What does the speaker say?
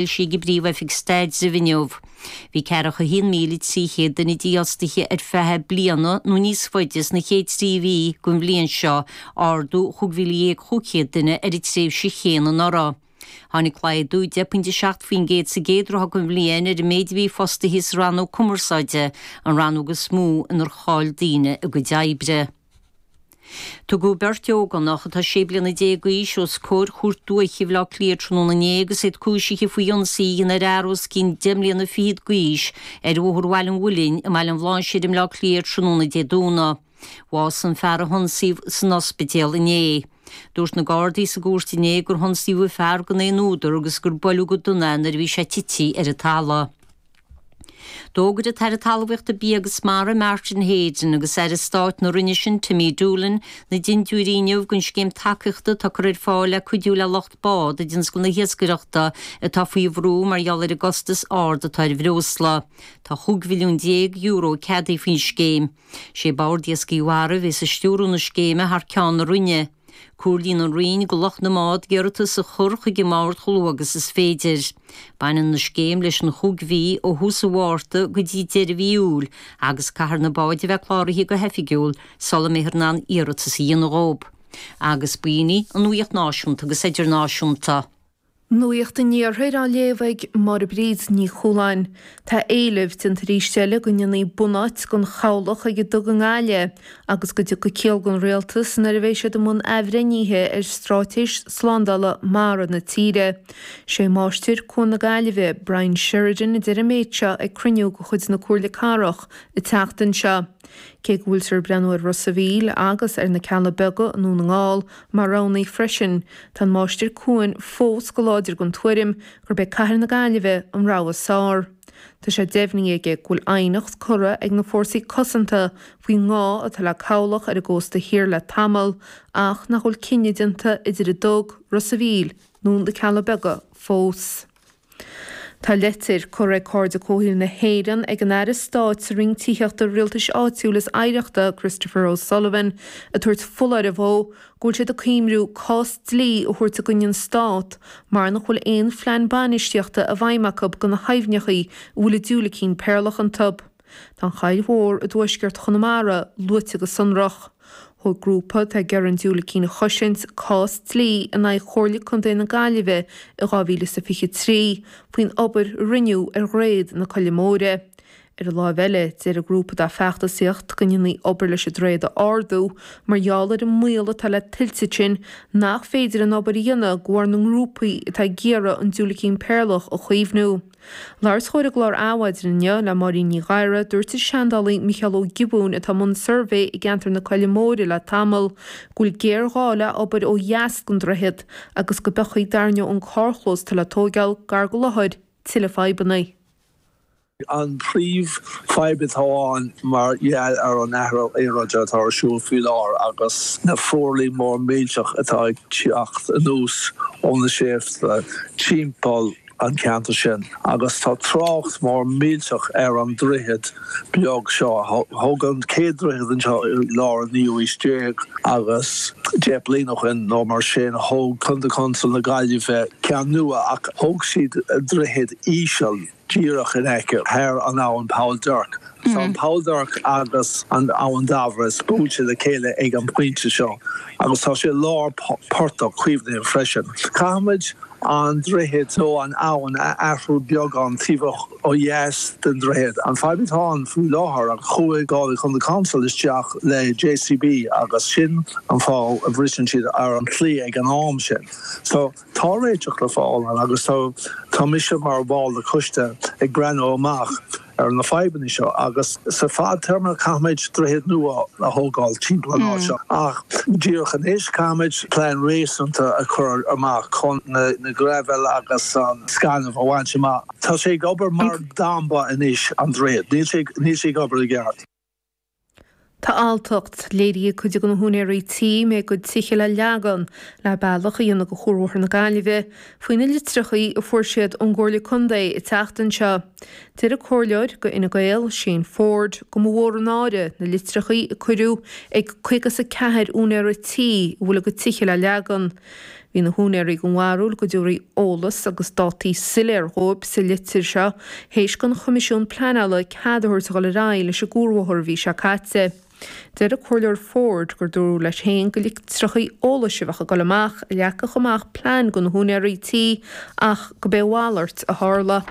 Foilsithe ag an bPríomh-Oifig Staidrimh inniu. Bhí 41,300 duine dífhostaithe ar feadh bliana nó níos faide sna chéad 3 mhí den bhliain seo, ardú 15,500 duine ar an tréimhse chéanna anuraidh. Tháinig laghdú 10.7% sa gcéad ráithe den bhliain ar an méid a bhí fostaithe sa rannóg cumarsáide, an rannóg is mó inar chaill daoine a gcuid oibre. Tugadh beirt ógánach atá 16 bliana d'aois os comhair Chúirt Dúiche Bhaile Átha Cliath tráthnóna inné agus iad cúisithe faoi ionsaí a dhein ar fhear os cionn 10 mbliana fichead d'aois ar Bhóthar Bhaile an Mhuilinn i mBaile an Bhláinséir i mBleá Cliath tráthnóna Dé Domhnaigh. Bhásaigh an fear a hionsaíodh san ospidéal inné. Dúirt na Gardaí sa gcúirt inné gur hionsaíodh an fear gan aon údar agus gur buaileadh go dona é nuair a bhí sé tite ar an talamh. D'fhógair an tAire Talmhaíochta, Bia agus Mara, Martin Heydon, agus Aire Stáit na Roinne sin, Timmy Dolan, na dintiúirí inniu don scéim tacaíochta atá curtha ar fáil le cuidiú le lucht bád i dtionscal na hiascaireachta atá faoi bhrú mar gheall ar an gcostas ard atá ar bhreosla. Tá €15 mhilliún ceadaithe faoin scéim. Sé Bord Iascaigh Mhara a bheas ag stiúradh na scéime thar ceann na Roinne. Comhairlíonn an Roinn go lucht na mbád iarratas a chur chuig an mBord chomh luath agus is féidir. Baineann an scéim leis an chúig mhí ó thús an Mhárta go dtí deireadh mhí Iúil agus caithfear na báid a bheith cláraithe go hoifigiúil sula mbeifear in ann iarratas a dhéanamh dhóibh. Agus b'in í an nuaíocht náisiúnta agus idirnáisiúnta. Nuacht an Iarthair á léamh ag Máire Bríd Ní Chualáin. Tá éileamh déanta arís eile go ndéanfaí bunáit don chabhlach ag an duga i nGaillimh agus go dtiocfaidh ciall don rialtas nuair a bheidh siad i mbun athbhreithnithe ar straitéis slándála mara na tíre. Sé Máistir Cuan na Gaillimhe, Brian Sheridan a deir an méid seo ag cruinniú de chuid na Comhairle Cathrach an tseachtain seo. Cé go bhfuiltear ag breathnú ar Ros a' Mhíl agus ar na Cealla Beaga i nDún na nGall Mar roghanna freisin, tá an Máistir Cuain fós go láidir den tuairim gurb é Cathair na Gaillimhe an rogha is fearr. Tá sé deimhnithe aige go bhfuil aighneacht curtha ag na Fórsaí Cosanta faoin ngá atá le cabhlach ar an gcósta thiar le tamall ach nach bhfuil cinneadh déanta idir an Dug, Ros a' Mhíl nó na Cealla Beaga fós. Tá leitir curtha ag Cairde Comhshaoil na hÉireann ag an Aire Stáit sa Roinn Tithíochta, Rialtais Áitiúil is Oidhreachta, Christopher O'Sullivan, ag tabhairt foláireamh dhó go bhfuil siad ag cuimriú cás dlí a thabhairt i gcoinne an Stát mar nach bhfuil aon phlean bainistíochta i bhfeidhm acu do na haibhneachaí a bhfuil an diúilicín péarlach iontu. Tá an Choill Mhór i dtuaisceart Chonamara luaite go sonrach. Thóg grúpa atá ag iarraidh an diúilicín a chosaint cás dlí in aghaidh Chomhairle Contae na Gaillimhe i 2023 faoin obair a rinneadh ar dhroichead na Coille Móire. Ar an láimh eile, deir an grúpa atá ag feachtasaíocht go ndéanfaí obair leis an droichead a ardú mar gheall ar an mbaol atá le tuilte ansin nach féidir an obair a dhéanamh de bharr na ngrúpaí atá ag iarraidh an diúilicín péarlach a chaomhnú. Labhairt os comhair an gclár Adhmhaidin inniu le Máirín Ní Ghadhra, dúirt an seandálaí Micheál Ó Giobúin atá i mbun suirbhé i gceantar na Coille Móire le tamall, go bhfuil géarghá le obair ó dheas den droichead agus go bpiocfaidh dar ndóigh an carrchlós atá le tóigeáil gar go láthair tuilleadh fadhbanna. An príomh fadhb atá ann mar gheall ar an athrú aeráide atá ar siúl faoi láthair agus na fuarlaigh mór millteach atá ag teacht anuas ó na sléibhte timpeall an ceantar sin agus tá trácht mór millteach ar an droichead beag seo. Thógadh an chéad droichead anseo i lár an naoú aois déag agus 10 bliain ó shin nó mar sin thóg Contae Council na Gaillimhe ceann nua ach thóg siad droichead íseal díreach in aice thar an abhainn Poll Duirc. Tá an Poll Duirc agus an Abhainn Dubhrois buailte le chéile ag an bpointe seo agus tá sé i lár portach caomhnaithe freisin. Caithfimid an droichead nó an abhainn a athrú beagán taobh ó dheas den droichead. An fadhb atá ann faoi láthair, chuaigh Galway County Council isteach le JCB agus sin an fáth a bhriseann siad ar an tslí ag an am sin. So tá réiteach le fáil ann agus tá tá mise mar bhall de choiste ag breathnú amach ar na fadhbanna seo agus sa fadtéarma caithfimid droichead nua a thógáil timpeall an áit seo ach díreach anois caithfimid plean réasúnta a chur amach chun na graibhéil agus an scaineamh a bhaint amach. Tá sé ag obair mar damba anois an droichead, níl sé ag obair i gceart. Tá alltacht léirithe ag cuid de na húinéirí tí a mbeidh a gcuid tithe le leagan le bealach a dhéanamh do Chuarbhóthar na Gaillimhe faoi na litreachaí a fuair siad ón gComhairle Contae an tseachtain seo. Deir an Comhairleoir do Fhine Gael, Shane Forde, go mba mhór an náire na litreachaí a cuireadh ag 54 úinéara tí a bhfuil a gcuid tithe le leagan. Bhí na húinéirí den bharúil go dtabharfaí eolas agus dátaí soiléir dhóibh sa litir seo théis don Choimisiún Pleanála cead a thabhairt a dhul ar aghaidh leis an gcuarbhóthar an mhí seo caite. Deir an Comhairleoir Ford gur dúradh leis féin gur litreachaí eolais a bheadh ag dul amach a leagfadh amach plean do na húinéirí tí ach go b'é a mhalairt a tharla.